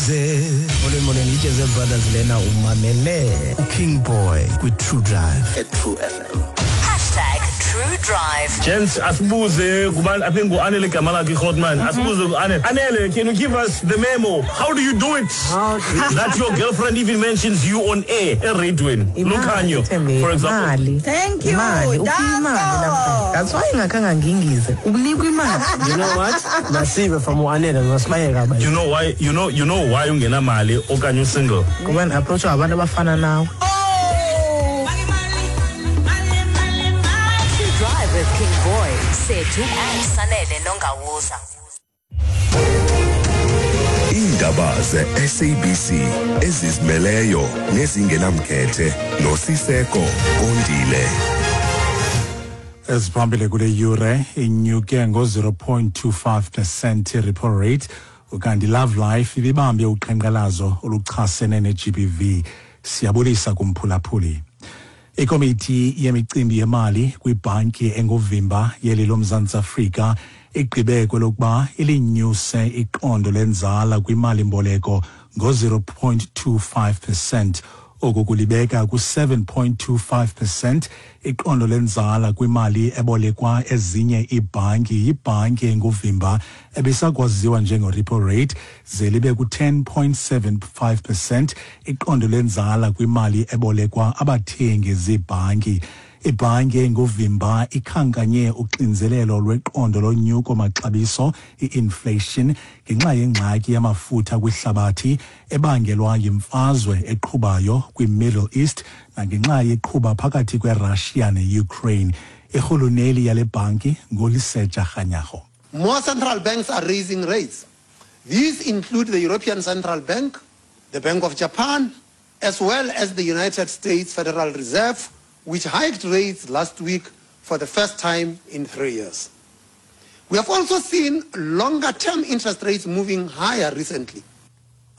Ndize. Molweni molweni Litsheze Brothers lena umamele uKing Boy kwi-True Drive at True FM. #TrueDrive. Gents, asibuze kubani, I think ngu-Anele igama lakhe iGrotman. Asibuze ku-Anele. Anele, can you give us the memo? How do you do it? That your girlfriend even mentions you on air, eradweni. Lukhanyo, for example. Imali. Thank you, Imali, uphiwa imali Danko. namhlanje. That's why ingakhange ngingize. Unikwa imali. You know what? Masive from uAnele masibayeka abanye. You know why, you know why ungenamali okanye usingle? Ngoba ndi-approachwa ngabantu abafana nawe. True Drive with King Boy, Sethu and Sanele Nongawuza. Iindaba ze-SABC ezizimeleyo nezingenamkhethe noSiseko Kondile. Eziphambili kule yure: inyuke ngo-0.25% i-repo rate, ukanti Love Life ibibambe uqhankqalazo oluchasene ne-GBV. Siyabulisa kumphulaphuli. Ikomiti yemicimbi yemali kwibhanki enguvimba yeli loMzantsi Afrika igqibe kwelokuba ilinyuse iqondo lenzala kwimali-mboleko ngo-0.25%. Oku kulibeka ku-7.25% iqondo lenzala kwimali ebolekwa ezinye iibhanki yibhanki enguvimba ebisakwaziwa njengo-repo rate, ze libe ku-10.75% iqondo lenzala kwimali ebolekwa abathengi ziibhanki. Ibhanki enguvimba ikhankanye uxinzelelo lweqondo lonyuko maxabiso, i-inflation, ngenxa yengxaki yamafutha kwihlabathi ebangelwa yimfazwe eqhubayo kwi-Middle East nangenxa yeqhuba phakathi kweRussia ne-Ukraine. Irhuluneli yale bhanki nguLesetja Kganyago. More central banks are raising rates. These include the European Central Bank, the Bank of Japan, as well as the United States Federal Reserve, which hiked rates last week for the first time in 3 years. We have also seen longer-term interest rates moving higher recently.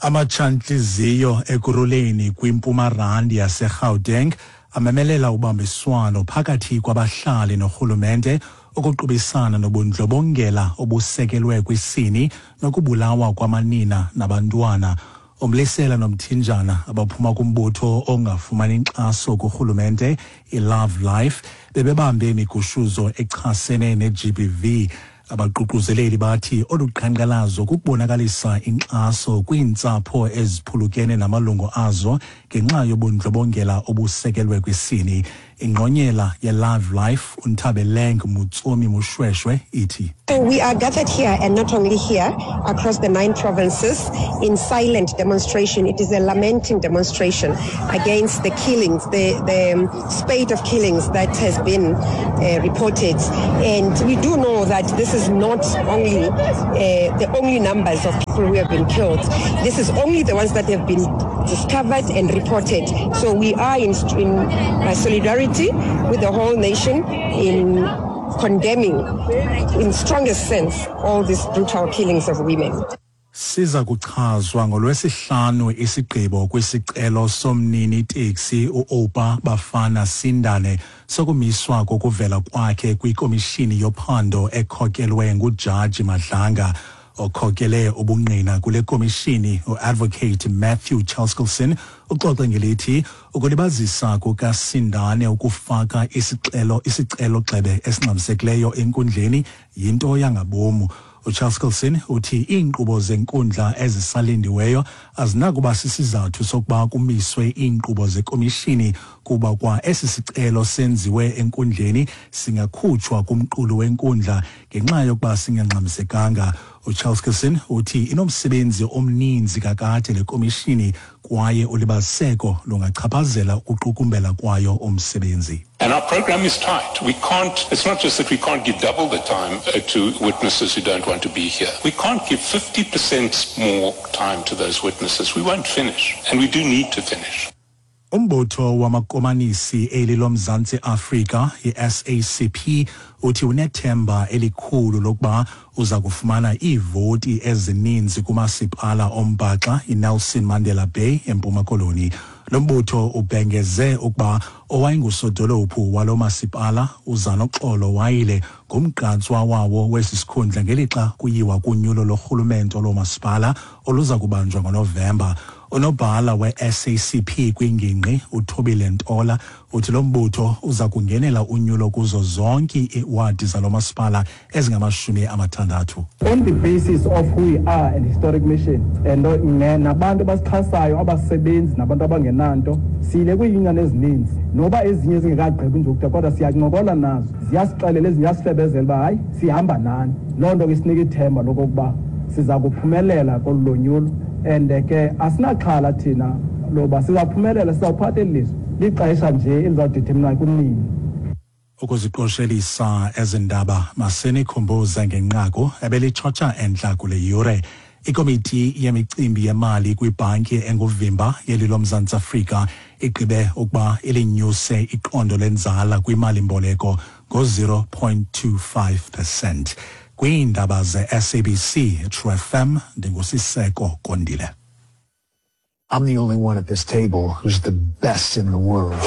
Amatshantliziyo Ekurhuleni kwiMpuma Randi yaseGauteng amemelela ubambiswano phakathi kwabahlali norhulumente ukuqubisana nobundlobongela obusekelwe kwisini nokubulawa kwamanina nabantwana. Umlisela nomthinjana abaphuma kumbutho ongafumani inkxaso kurhulumente, iLove Life, bebebambe imigushuzo echasene ne-GBV. Abaququzeleli bathi olu qhankqalazo kukubonakalisa inkxaso kwiintsapho eziphulukene namalungu azo ngenxa yobundlobongela obusekelwe kwisini. Ingqonyela ye-Love Life, uNthabeleng Motsomi Moshoeshoe, ithi: So we are gathered here, and not only here, across the nine provinces in silent demonstration. It is a lamenting demonstration against the killings, the spate of killings that has been reported. And we do know that this is not only the only numbers of people who have been killed. This is only the ones that have been discovered and reported. So we are in solidarity with the whole nation in condemning, in strongest sense, all these brutal killings of women. Siza kuchazwa ngolwesihlanu isigqibo kwisicelo somnini teksi uOupa Bafana Sindane sokumiswa kokuvela kwakhe kwikomishini yophando ekhokelwe nguJaji Madlanga. Okhokele ubungqina kule komishini, uadvocate Matthew Chaskalson, uxoxe ngelithi ukulibazisa kukaSindane ukufaka isicelo gxebe esingxamisekileyo enkundleni yinto yangabomu. UChaskalson uthi iinkqubo zenkundla ezisalindiweyo azinakuba sisizathu sokuba kumiswe iinkqubo zekomishini, kuba kwa esi sicelo senziwe enkundleni singakhutshwa kumqulu wenkundla ngenxa yokuba singangxamisekanga. UChaskalson uthi inomsebenzi omninzi kakade le komishini kwaye ulibaziseko lungachaphazela ukuqukumbela kwayo umsebenzi. And our program is tight. We can't, it's not just that we can't give double the time to witnesses who don't want to be here. We can't give 50% more time to those witnesses. We won't finish. And we do need to finish. Umbutho wamakomanisi eli loMzantsi Afrika, i-SACP, uthi unethemba elikhulu lokuba uza kufumana iivoti ezininzi kumasipala ombhaxa iNelson Mandela Bay eMpuma Koloni. Lo mbutho ubhengeze ukuba owayengusodolophu walo masipala uZanoxolo Wayile ngumgqatswa wawo wesi sikhundla ngelixa kuyiwa kunyulo lorhulumento loomasipala oluza kubanjwa ngoNovemba. Unobhala we-SACP kwingingqi uThobile Ntola uthi lo mbutho uza kungenela unyulo kuzo zonke iiwadi zalo masipala ezingama-60. On the basis of who we are and historic mission and nabantu abasixhasayo, abasebenzi nabantu abangenanto, siyile kwiiyunion ezininzi noba ezinye zingekagqibi nje ukuda, kodwa siyancokola nazo, ziyasixelela ezinye, ziyasifebezela uba hayi, sihamba nani. Loo nto ke isinika ithemba lokokuba siza kuphumelela kolu lonyulo, and ke asinaxhala thina loba sizawuphumelela, sizawuphatha eli lizwe. Lixesha nje elizawudetermina kunini. Ukuziqoshelisa ezi ndaba, masenikhumbuze ngenqaku ebelitshotsha entla kule yure. Ikomiti yemicimbi yemali kwibhanki enguvimba yeli loMzantsi Afrika igqibe ukuba ilinyuse iqondo lenzala kwimali-mboleko ngo-0.25%. Kwiindaba ze-SABC True FM, ndinguSiseko Kondile. I'm the only one at this table who's the best in the world.